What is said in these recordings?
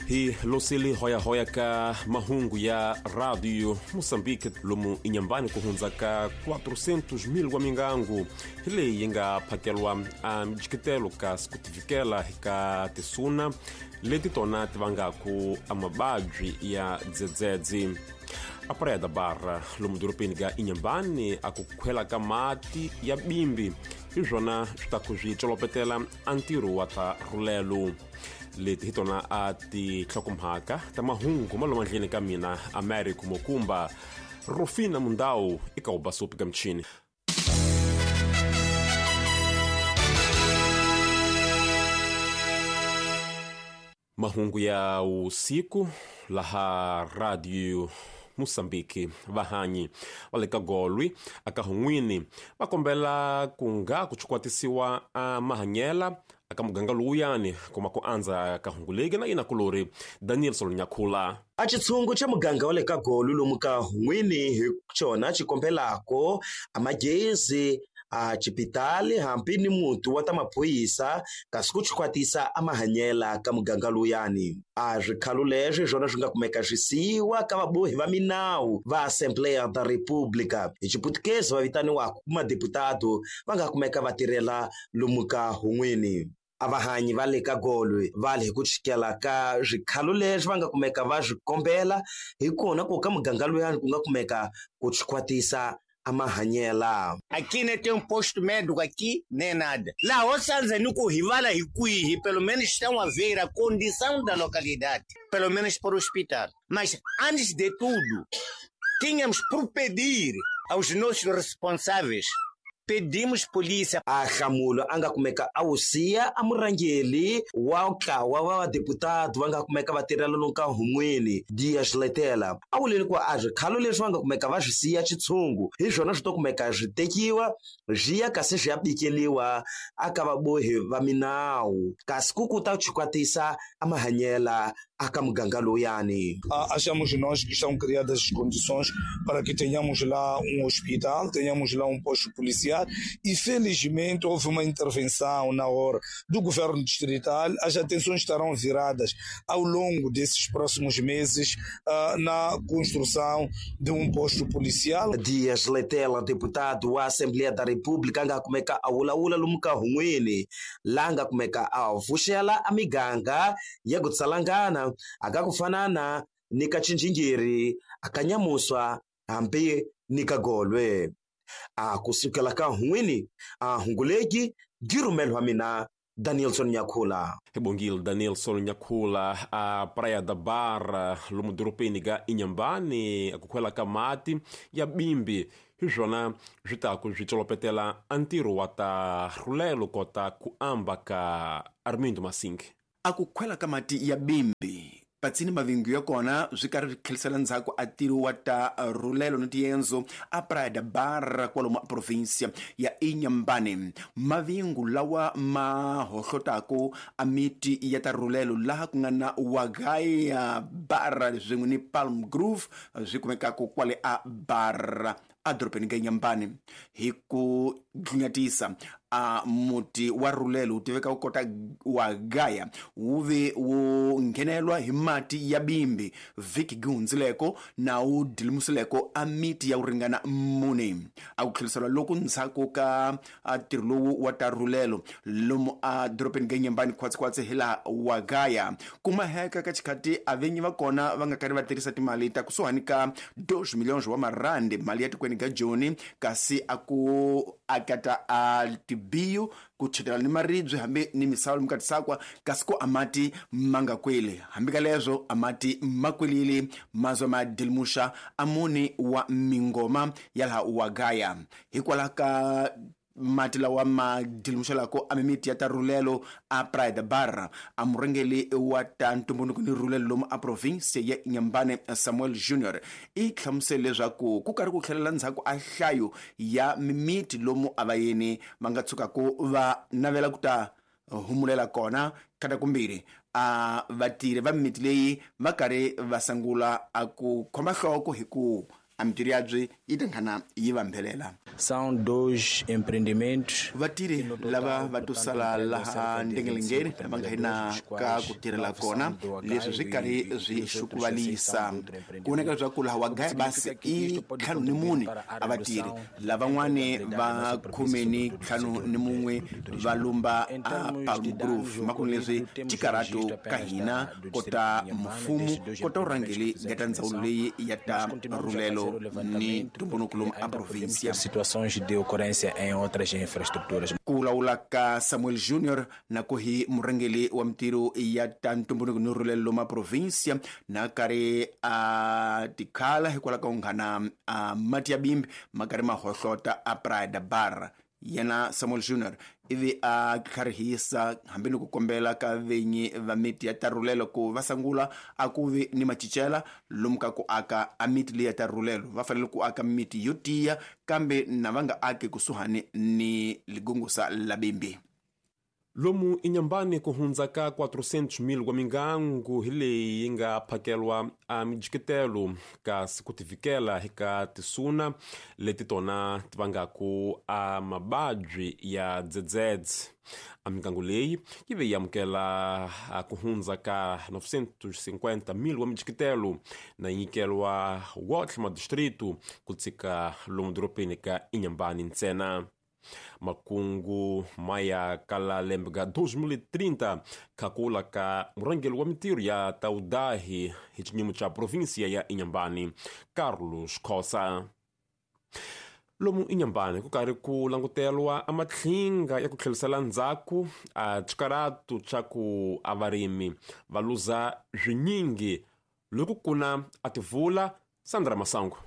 Hi losile hoyahoya ka mahungu ya Radio Moçambique lomu Inhambane ku hundza ka 400 000 wa mingangu hi leyi yi nga phakelwa a mijiketelo ka sikutivikela ka tisuna leti tona ti vangaku a mababyi ya dzedzedzi. A Praia da Barra lomu dorobeni ka Inhambane a ku khwela ka mati ya bimbi hi swona swi ta ku swi colopetela a ntirho wa ta rhulelo. Leti hi tona a tinhlokomhaka ta mahungu ma lomu ndleni ka mina Americo Mokumba. Rufina Mundau eka ubasopi ka michini. Mahungu ya usiku laha Radio Moçambique. Vahanyi va le ka Golwi aka Hun'wini va kombela ku nga ku chukwatisiwa a mahanyela aka muganga lowuyani kuma ku andza ka hunguleki na yina kulori Daniel Solonyakhula. A xitshungu xa muganga wa le ka Golwi lomu ka Hun'wini hi xona xi kombelako a magezi a xipitali hambi ni muti wa ta maphorisa kasi ku chikwatisa a mahanyela ka muganga lowuyani. A swikhalo leswi hi swona swi nga kumeka swi siyiwa ka vabohi va minawu va Assembleia da República hi Xiputukezi va vitaniwaka ku madeputado va nga kumeka va tirhela lomu ka Hun'wini. A vahanyi va le ka Golwi va le hi ku chikela ka swikhalo leswi va nga kumeka va swi kombela hi kona ku ka muganga lowuyani ku nga kumeka ku chikwatisa a mahanyela. Aqui nem tem um posto médico aqui, nem nada. Lá, ou seja, no Corrivala e Cuí, pelo menos estão a ver a condição da localidade, pelo menos para o hospital. Mas, antes de tudo, tínhamos por pedir aos nossos responsáveis, pedimos polícia. A Nhlamulo a nga kumeka a wu siya a murhangeri wa ntlawa wa vadeputado va nga kumeka va tirhela lomu ka Hun'wini Dias Letela a vuleni ku a swikhalo leswi va nga kumeka va swi siya xitshungu hi swona swi to kumeka swi tekiwa swi ya kasi swi ya bikeliwa aka vabohi va minawu kasi ku ku ta chikwatisa a mahanyela aka muganga lowuyani. Achamos nós que estão criadas as condições para que tenhamos lá um hospital, tenhamos lá um posto policial e felizmente houve uma intervenção na hora do governo distrital. As atenções estarão viradas ao longo desses próximos meses na construção de um posto policial. Dias Letela, deputado wa Assembleia da República, nga kumeka a wulawula lomu ka Hun'wini la nga kumeka a vuxela a miganga ya ku tsalangana aka ku fanana ni ka Chinjingiri, aka Nyamuswa hambi ni ka Golwe. A kusukela ka Hun'wini a Hunguleki girumelo wa mina Danielson Nyakhula. Hi bongile Danielson Nyakhula. A Praia da Barra lomu dorobeni ka Inhambane ku khwela ka mati ya bimbi hi swona swi ta ku swi colopetela a ntirho wa ta rhulelo kota ku amba ka Armindo Masingi. A ku khwela ka mati ya bimbi patsini mavingu ya kona swi karhi swi tlhelisela ndzhaku a ntirho wa ta rhulelo ni tiendzo a Praia da Barra kwalomu a provinsia ya Inhambane. Mavingu lawa ma hohlotako a miti ya ta rhulelo laha ku nga na Wagaya Barra swin'we ni Palm Grove swi kumekaka kwale a Barra a dorobeni ka Inhambane. Hi ku dlunyatisa a muti wa rhulelo wu tiveka ku kota wa Gaya wu ve wu nghenelwa hi mati ya bimbi vhiki gi hundzileko na wu dilimusileko a miti ya ku ringana 4. A ku tlherisela loku ndzhaku ka ntirho lowu wa ta rhulelo lomu a dorobeni ka Inhambane khwatsi-khwatsi hi laha wa Gaya kumaheka ka xikhati a vinyi va kona va nga karhi va tirhisa timali ta kusuhani ka 2 milhões wa marandi mali ya tikweni ka Joni kasi a ku akata a tibiyo ku chetela ni maribye hambi ni misava lomu ka tisakwa kasi ku a mati ma nga kweli hambi ka leswo a mati ma kwelile mazwa ma dilimuxa a muni wa mingoma ya laha wa Gaya hikwalaho ka mati lawa ma dilimuxelako a mimiti ya ta rhulelo a Praia da Barra. A murhangeri wa ta ntumbuluko ni rhulelo lomu a province ya Inhambane Samuel Junior i hlamusele leswaku ku karhi ku tlhelela ndzhaku a nhlayo ya mimiti lomu a vayeni va nga tshukaku va navela ku ta humulela kona kata kumbirhi a vatirhi va mimiti leyi va karhi va sungula a ku khoma nhloko hi ku A mitirho yabyi yi tankhana yi vambelela. São dois empreendimentos. Vatirhi lava va to sala laha ndengelengeni va nga hina ka ku tirhela kona, leswi swi karhi swi xukuvalisa. Ku voneka leswaku laha wa gaya basi i 54 a vatirhi, lavan'wani va 51 va lumba a Palm Grove. Makunu leswi tikarato ka hina kota mfumo kota urhangeli ga ta ndzawulo leyi ya ta rhulelo ni ntumbuluko lomu a província. Situações de ocorrência em outras infraestruturas. Ku vulavula ka Samuel Junior na ku hi murhangeli wa mitirho ya ta ntumbuluko ni rhulelo lomu a província na karhi a tikhala hikwalaho ka ku nghana a mati ya bimbi ma karhi ma hohlota a Praia da Barra. Yena Samuel Junior ivi a tlharihisa hambi ni ku kombela ka venyi va miti ya tarhulelo ku va sangula a ku vi ni macincela lomu ka ku aka a miti leyi ya tarhulelo. Va fanele ku aka miti yo tiya, kambe na va nga aki kusuhani ni ligungusa la bimbi. Lomu inyambani ku hundza ka 400,000 wa mingangu hi leyi yi nga phakelwa a mijiketelo kasi ku tivikela hi ka tisuna leti tona ti vangaku a mababyi ya dzedzedze. A mingangu leyi yi ve yi amukela ku hundza ka 950,000 wa mijiketelo na yi nyikelwa wotlhe madistritu ku tshika lomu doropeni ka Inhambane ntsena. Makungu maya kala lembe ga 2030 kakula ka murhangeri wa mitirho ya taudahi hi xinyimo xa provinsia ya Inhambane, Carlos Khosa. Lomu Inhambane ku karhi ku langutelwa a matlhinga ya ku tlherisela ndzhaku a xikaratu xa ku a varimi va luza swinyingi loko kuna a tivula. Sandra Masango.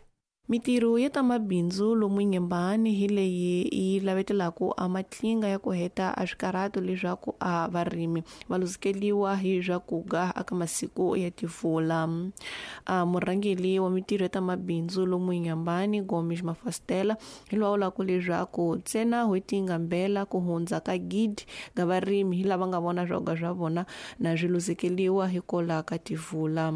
Mitirho ya ta mabindzu lomu Inhambane hi leyi yi lavetelaka a matlinga ya ku heta a swikarhato leswaku a varimi va luzekeliwa hi swakuga aka masiku ya tivula. A murhangeri wa mitirho ya ta mabindzu lomu Inhambane, Gomes Mafastela, hi loyi a vulaka leswaku ntsena n'hweti yi nga mbela ku hundza ka gidi ga varimi hi lava nga vona swakuga swa vona na swi luzekeliwa hikwalaho ka tivula.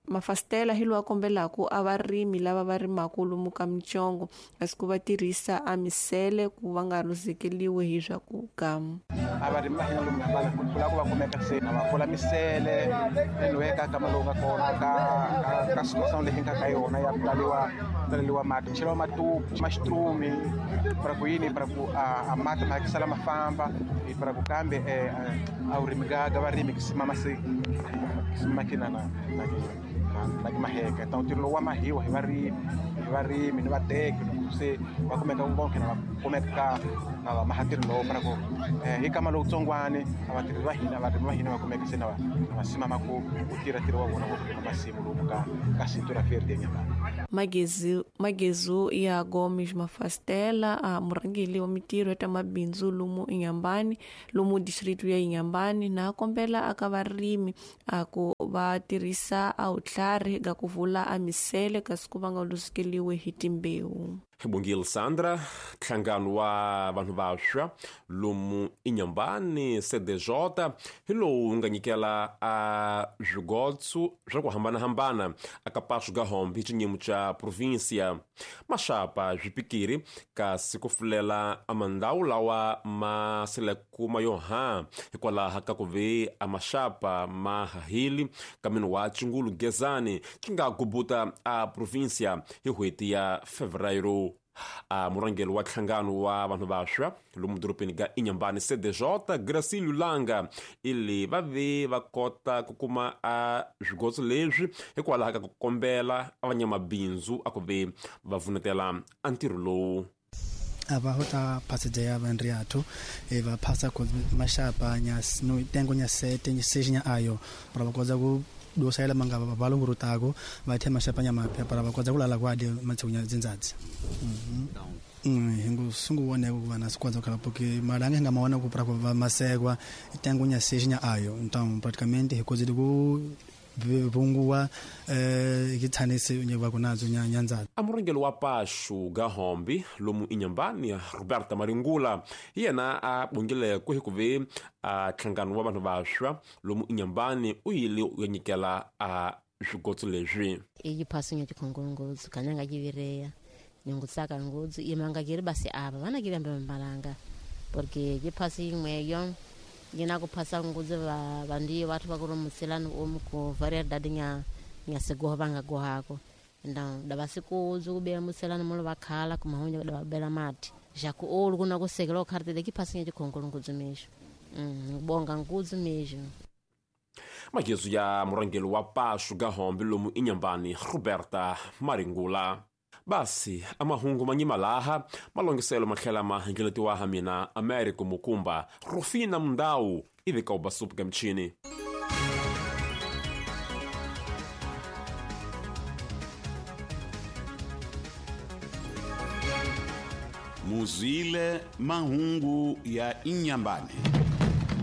Mafastela hi loyi a kombelaka a varimi lava va rimaka lomu ka mitsongo kasi ku va tirhisa a misele ku va nga luzekeliwi hi swakuga. A varimi va hina lomu Inhambane ku la ku va kumeka se na va pfula misele enweka ka lowu nga kona ka situation leyi nga ka yona ya ku taleliwa mati, cheliwa matupu maxitrumi para ku yini para ku a mati ma sala ma famba para ku kambe a vurimi ga varimi ki simama se simama ki na na ki maheka. Então ntirho lowu wa mahiwa hi varimi ni vateki loko se va kumeka vonke na va kumeka na va maha ntirho lowu para ku hi kama lowutsongwani a vatirhi va hina varimi va hina va kumeka se na va simama ku tirha ntirho wa vona wa ku rima masimu lomu ka Cintura Verde Inhambane. Magezu ya Gomes Mafastela, a murhangeri wa mitirho ya ta mabindzu lomu Inhambane, lomu distritu ya Inhambane, na kombela aka varimi a ku va tirhisa a vutlhari ga ku vula a misele kasi ku va nga luzekeliwi hi timbewu. Bongile Sandra. Nhlangano wa vanhu vantshwa lomu Inhambane CDJ hi lowu nga nyikela a swigotso swa ku hambanahambana aka Passo Gahombe hi xinyimo xa província. Maxapa swipikiri kasi ku fulela a mandhawu lawa ma seleku ma yo ha hikwalaho ka ku ve a maxapa ma hahili ka mini wa Chingulu Gezani xi nga gubuta a província hi n'hweti ya Fevereiro. A murhangeri wa nhlangano wa vanhu vantshwa lomu doropeni ga Inhambane CDJ, Gracilio Langa, ili va ve va kota ku kuma a swigotso leswi hikwalaho ka ku kombela a vanyamabindzu a ku ve va vunetela a ntirho lowu. Ava ho ta phasa ya vanriathu va phasa ku maxapa nya no tengo nya sete nya seja nya ayo para va kota ku dosayela manga valungurutako va thema maxapa nya mapya para va kota ku lala kwadi matshunya dzindzadzi. Hingu sungu wone ku va na sikwadzo khala porque malanga hi nga mawana ku para ku va masekwa tengo nya seja nya ayo. Então praticamente hi kozile ku vunguwa kithanise nyeva kunadzo nyanza. A murhangeri wa Passo Gahombe lomu Inhambane, Roberta Maringula, hi yena a bongile ku hi ku ve a nhlangano wa vanhu vantshwa lomu Inhambane u yile u ya nyikela a Swigotso leswi iyi phasinya chikhongolongodzo kanyanga chivireya ningutsaka ngudzu imangakiri basi ava vanakiri mbalanga porque chiphasi imweyo yina kuphasa ngudzu vandiyo vathu vakurumusilani omu ku variedade nya nya sigoho vangagohako então davasikuudzu kubela muselani mulo vakhala kumahunya davabela mati jaku olu kuna kusekela okharitile kiphasinya chikhongolo ngudzu mexo ngubonga ngudzu mexo. Magezu ya murhangeri wa Pashu Gahombe lomu Inhambane, Roberta Maringula. Basi amahungu manyima laha malongiselo matlhela ma hlengeletiwa ha mina Americo Mukumba Rufina Mundau ivi ka ubasupuka mchini. Muzwile mahungu ya Inhambane.